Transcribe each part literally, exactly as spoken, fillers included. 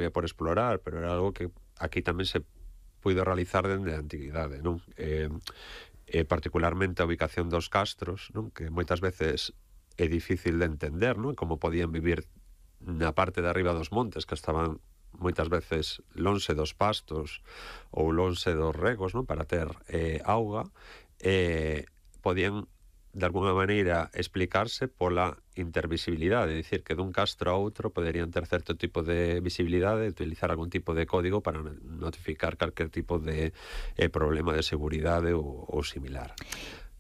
eh, por explorar, pero era algo que aquí tamén se puido realizar dende a antiguidade, non? Eh, eh, particularmente a ubicación dos castros, non? Que moitas veces é difícil de entender, non? Como podían vivir na parte de arriba dos montes, que estaban moitas veces lonxe dos pastos ou lonxe dos regos, non? Para ter eh, auga, eh, podían de alguna maneira explicarse pola intervisibilidade, é dicir, que dun castro a outro poderían ter certo tipo de visibilidade e utilizar algún tipo de código para notificar calquer tipo de eh, problema de seguridade ou, ou similar.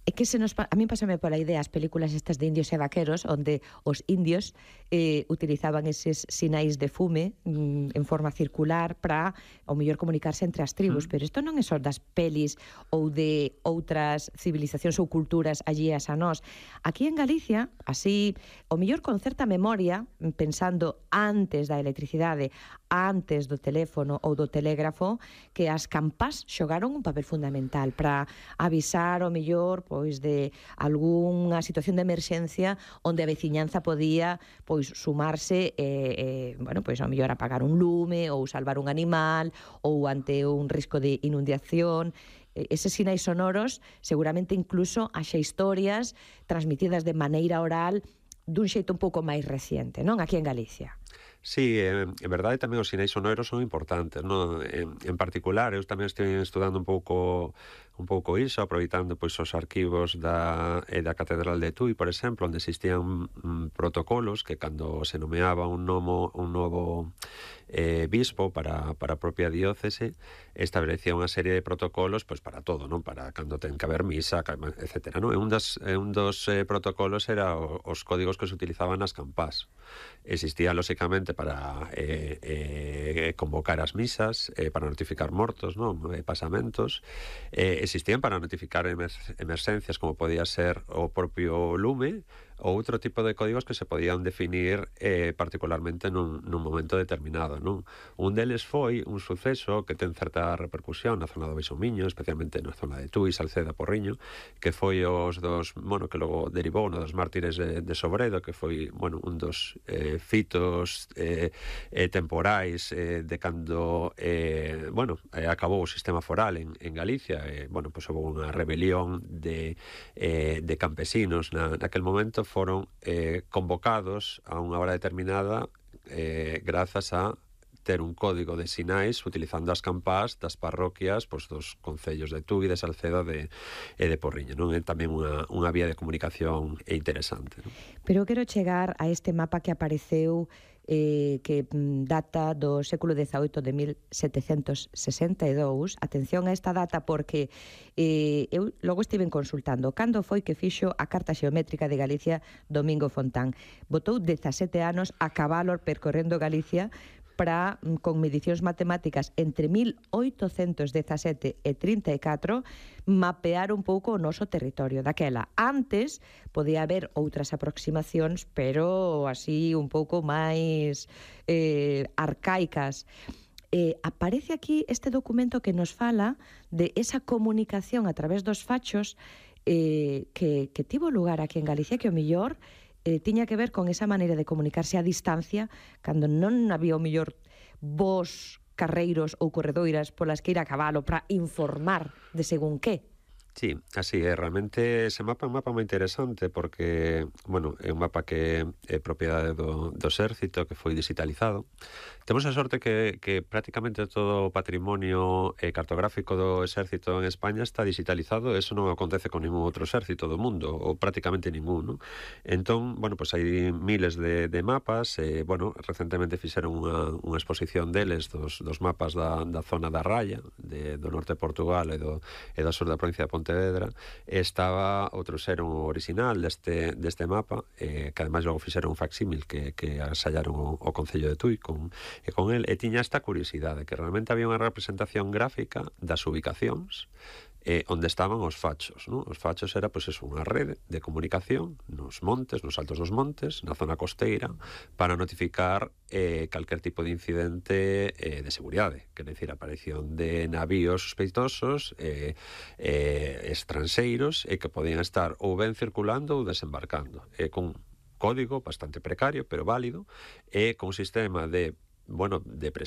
É que se nos, a mí pásame pola idea as películas estas de indios e vaqueros, onde os indios eh, utilizaban eses sinais de fume mm, en forma circular para, ao mellor, comunicarse entre as tribus, mm. pero isto non é só das pelis ou de outras civilizacións ou culturas allías a nós. Aquí en Galicia, así, ao mellor con certa memoria, pensando antes da electricidade, antes do teléfono ou do telégrafo, que as campás xogaron un papel fundamental para avisar, ao mellor, pois de algunha situación de emerxencia onde a veciñanza podía pois sumarse e, eh, bueno, pois ao mellor apagar un lume ou salvar un animal ou ante un risco de inundación. Eses sinais sonoros seguramente incluso haxa historias transmitidas de maneira oral dun xeito un pouco máis reciente, non? Aquí en Galicia. Sí, en, en verdade tamén os sinais sonoros son importantes, non? En, en particular, eu tamén estou estudando un pouco un pouco iso, aproveitando pois os arquivos da, eh, da Catedral de Tui, por exemplo, onde existían mm, protocolos que cando se nomeaba un, nomo, un novo eh, bispo para, para a propia diócese, establecía unha serie de protocolos pois para todo, non? Para cando ten que haber misa, etcétera, non? E un, das, un dos eh, protocolos era o, os códigos que se utilizaban nas campás. Existía, lóxicamente, para eh, eh, convocar as misas, eh, para notificar mortos, non? Eh, pasamentos, eh, existían para notificar emer emerxencias, como podía ser o propio lume, ou outro tipo de códigos que se podían definir eh, particularmente nun, nun momento determinado, non? Un deles foi un suceso que ten certa repercusión na zona do Beixomiño, especialmente na zona de Tui, Salceda, Porriño, que foi os dos, bueno, que logo derivou no dos mártires de, de Sobredo, que foi, bueno, un dos eh, fitos eh, eh, temporais eh, de cando, eh, bueno, eh, acabou o sistema foral en, en Galicia, eh, bueno, pois pues, houve unha rebelión de, eh, de campesinos na, naquel momento, foron eh, convocados a unha hora determinada eh, grazas a ter un código de sinais utilizando as campás das parroquias pois, dos concellos de Tui, de Salceda de, e de Porriño, non? É tamén unha, unha vía de comunicación interesante, non? Pero quero chegar a este mapa que apareceu eh, que data do século dezaoito de mil setecentos sesenta e dous. Atención a esta data porque eh, eu logo estiven consultando cando foi que fixo a Carta Xeométrica de Galicia Domingo Fontán. Botou dezasete anos a cabalo percorrendo Galicia para, con medicións matemáticas entre mil oitocentos dezasete e trinta e catro, mapear un pouco o noso territorio daquela. Antes podía haber outras aproximacións, pero así un pouco máis eh, arcaicas. Eh, aparece aquí este documento que nos fala de esa comunicación a través dos fachos eh, que, que tivo lugar aquí en Galicia, que o millor Eh, tiña que ver con esa maneira de comunicarse a distancia cando non había o mellor vos carreiros ou corredoiras polas que ir a cabalo para informar de según que. Sí, así é, realmente ese mapa é un mapa moi interesante porque, bueno, é un mapa que é propiedade do, do exército, que foi digitalizado. Temos a sorte que, que prácticamente todo o patrimonio eh, cartográfico do exército en España está digitalizado, e eso non acontece con ningún outro exército do mundo, ou prácticamente ningún, non? Entón, bueno, pues hai miles de, de mapas, e, eh, bueno, recentemente fixeron unha, unha exposición deles, dos, dos mapas da, da zona da Raya, de, do norte de Portugal e do, e do sur da provincia de Pontevedra. Estaba o trouxeron o original deste, deste mapa, eh, que ademais logo fixeron un facsímil que, que asallaron o, o Concello de Tui con, e con el, e tiña esta curiosidade, que realmente había unha representación gráfica das ubicacións eh, onde estaban os fachos, non? Os fachos era, pois, eso, unha rede de comunicación nos montes, nos altos dos montes, na zona costeira, para notificar eh, calquer tipo de incidente eh, de seguridade, quer decir, a aparición de navíos sospeitosos eh, eh, estranxeiros e que podían estar ou ben circulando ou desembarcando, e con código bastante precario, pero válido, e con un sistema de, bueno, de